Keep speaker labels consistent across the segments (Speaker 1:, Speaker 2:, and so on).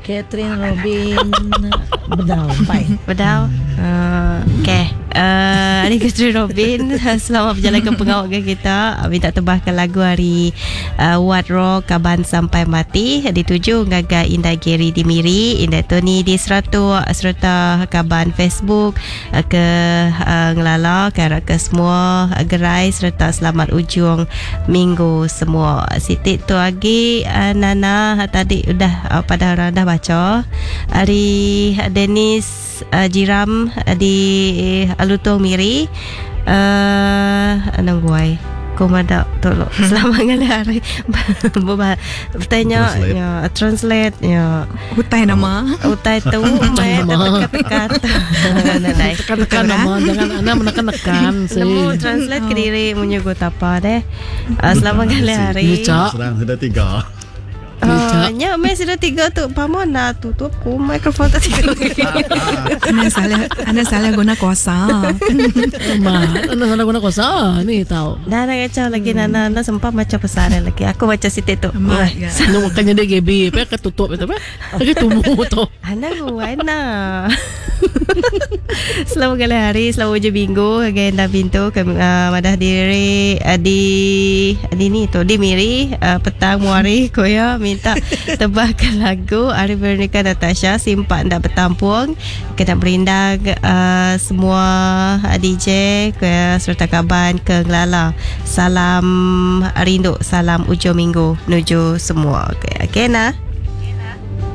Speaker 1: Catherine Robin bedau empai.
Speaker 2: Bedau. Uh, okay. Uh, hari Catherine Robin selamat berjalan ke pengawa ke kita. Minta tebahkan lagu hari uh, Wat Rock Kaban Sampai Mati dituju ngagai Indai Gary di Miri, Indai Tony di Seratuk serta kaban Facebook ke uh, ngelala ke arap ke semua gerai serta selamat ujung minggu semua. Siti tu agi uh, Nana tadi udah uh, pada orang dah baca ari Dennis uh, Jiram uh, di uh, Lutong Miri uh, anang guai ku mada tolong selamat ngalih hari bertanya
Speaker 3: Translate.
Speaker 2: ya translate ya
Speaker 4: Utai nama.
Speaker 2: utai tu mai teka-teka nadai
Speaker 5: Tekan-tekan nama jangan anda menekan-nekan sih.
Speaker 2: Nemu translate kediri munyi go tapa deh. Uh, selamat ngalih hari.
Speaker 5: Ni cak.
Speaker 3: Serang sudah tiga.
Speaker 2: Uh, nya meh sudah tiga tu pamon dah tutup ku mikrofon tadi.
Speaker 4: Anda salah guna kuasa.
Speaker 5: Ma, anda salah guna kuasa ni tahu.
Speaker 2: Dah nak kacau lagi Nana Nana sempat baca pesan lagi. Aku baca sitik tu.
Speaker 4: Amat, ya.
Speaker 5: Nu makanya dia GB, apa ketutup itu apa? Lagi tumbuh tu.
Speaker 2: Ana buana. Selamat kali hari, selamat hujung minggu Agai anda pintu ke uh, madah diri uh, di di ni tu di Miri uh, petang muari ko ya minta tebahkan lagu Ari Veronica Natasha simpak ndak bertampung kena berindang uh, semua uh, DJ ke serta kaban ke Ngelala. Salam rindu, salam ujung minggu menuju semua. Okey, okey nah.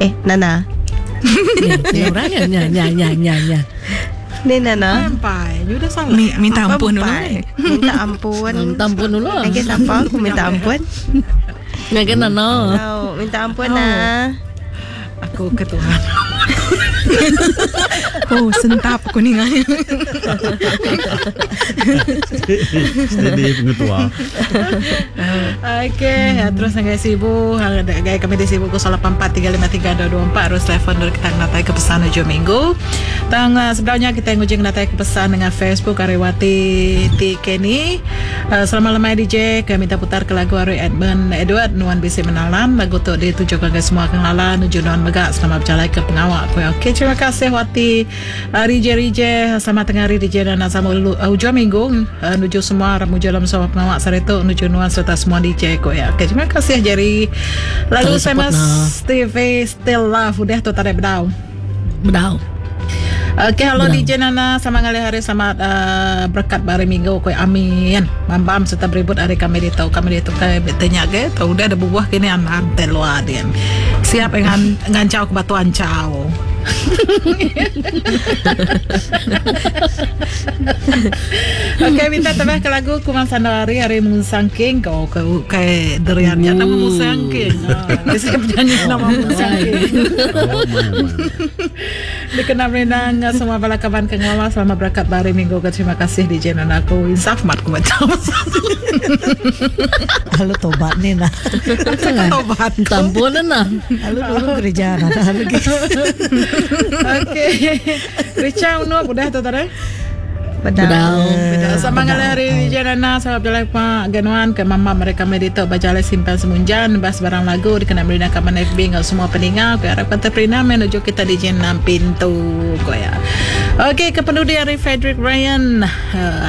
Speaker 2: Eh, Nana.
Speaker 5: Ni orang ya, nya nya nya nya nya.
Speaker 2: Ni Nana.
Speaker 6: Sampai. You dah salah.
Speaker 4: Minta ampun dulu.
Speaker 2: Empat. Minta ampun.
Speaker 5: Minta ampun dulu.
Speaker 2: Lagi siapa aku minta ampun?
Speaker 5: Ngagai nana.
Speaker 2: Oh, minta ampun nah.
Speaker 6: Aku ke Tuhan.
Speaker 4: Oh, sentap aku ni.
Speaker 3: Steady pengetua.
Speaker 6: Okey, terus ngagai Sibu, ngagai kami di Sibu 084353224 terus telefon dari kita natai ke pesan hujung minggu. Tang sebenarnya kita ngujung natai ke pesan dengan Facebook Ariwati T Kenny. Selamat lemai DJ, kami minta putar ke lagu Ari Edmund Edward Nuan Bisi Menalan. Lagu tu ditujukan ke semua kenala nuju Nuan Megak selamat berjalan ke pengawak. Okey, terima kasih Wati. Ari DJ, selamat tengah hari DJ dan sama hujung minggu nuju semua ramuja dalam semua pengawak sare tu nuju Nuan serta semua DJ ko ya. Okey, terima kasih Jerry. Lalu
Speaker 5: Terus support
Speaker 6: sama
Speaker 5: nah.
Speaker 6: Steve Still Love udah tu tarik bedau.
Speaker 5: Bedau.
Speaker 6: Okey, halo
Speaker 5: Bedau.
Speaker 6: DJ Nana, selamat ngalih hari, selamat berkat hari minggu koi amin. Bam-bam serta beribut hari kami di tau kami di tu kai betenya ke tau udah ada buah kini an ante luar dia. Siap dengan ngancau ke batu ancau. Okey, minta tambah ke lagu Kumang Sanawari hari Musang King kau ke ke deriannya nama Musang King. Ah, dia penyanyi nama Musang King.
Speaker 3: Oh, my, my.
Speaker 6: Dikenal Renang semua bala kawan ke ngawal selama berkat hari minggu ke terima kasih DJ Nana aku insaf mat ku baca.
Speaker 1: Lalu tobat ni nah.
Speaker 6: Tobat.
Speaker 5: Minta ampun nana.
Speaker 1: Lalu dulu gereja nah. Lalu gitu.
Speaker 6: Okey. Richa Uno udah tu tadi.
Speaker 2: Bedau.
Speaker 5: Bedau.
Speaker 6: Betul. Sama kali hari DJ Nana sama berjalan Pak Ganuan ke mama mereka medito baca simpan semunjan bas barang lagu dikena merina kaman FB ngau semua peninga aku harapkan terperina menuju kita DJ 6 pintu ko ya. Okey ke pendudi hari Frederick Ryan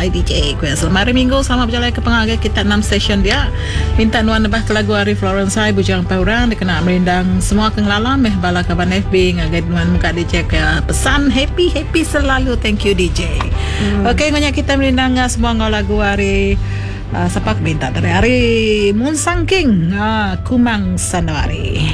Speaker 6: IDJ ko ya. Selamat hari Minggu selamat berjalan ke pengagai kita 6 session dia. Minta nuan nebah ke lagu hari Florence Hai Bujang Paurang dikena merindang semua kengelala meh bala kaban FB ngagai nuan muka DJ ke pesan happy happy selalu thank you DJ. Okey, banyak kita merindang semua ngau lagu hari siapa aku minta dari hari Munsang King Kumang Sanawari.